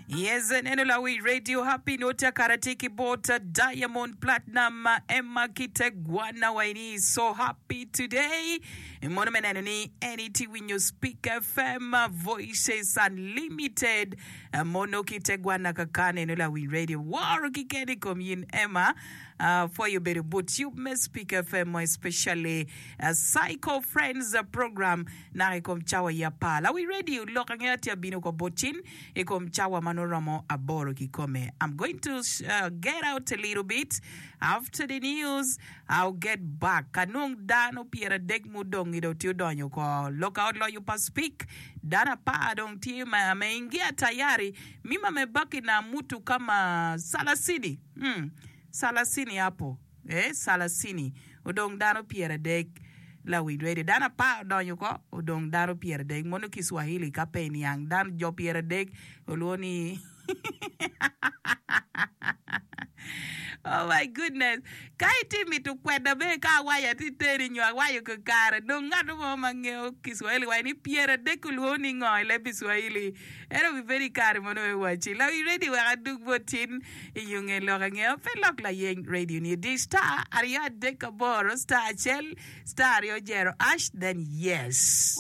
Yes, neno lawi radio happy nota karate ki bot Diamond Platinum Emma Kitegwana waini so happy today. Mono me neno ni en iti winyo Speak FM Voices Unlimited. Mono Kitegwana kaka neno lawi radio woro kikene i kom yin Emma. Uh, pwoyo bedo but yub me Speak FM especially uh, Psycho Friends program naka i kom cawa yi apar. Lawi radio lok angeya tye abino ko bot cin i kom cawa ma nongo romo aboro kikome. I'm going to uh, get out a little bit after the news. I'll get back. Ka nong dano pyeradek mudong-ngi dong tye odonyo ko loka ot loyo pa Speak. Dano apar dong tye ma ameingia tayari. Mima mebaki na mutu kama salasini. Hmm. Salasini hapo. Eh, salasini. Odong dano pyeradek lawiny radio. Dano apar odonyo oko, odong dano pyeradek. Mono Kiswahili ka pe iniang. Dano jo pyeradek olwongo ni Oh my goodness. Ka itye mito kweda bene ka awaco atye teri nyo awaco kakare, dong ngat mo ma ngeyo Kiswahili waco ni pyeradek olwongo ni ngo i leb Kiswahili. En obibedo i kare mono me wacci, Lawiny radio wek adug bot tin i yo nge lok angeya pe lok layeny radio ni di star aryo adek aboro star acel star aryo jero ash then yes.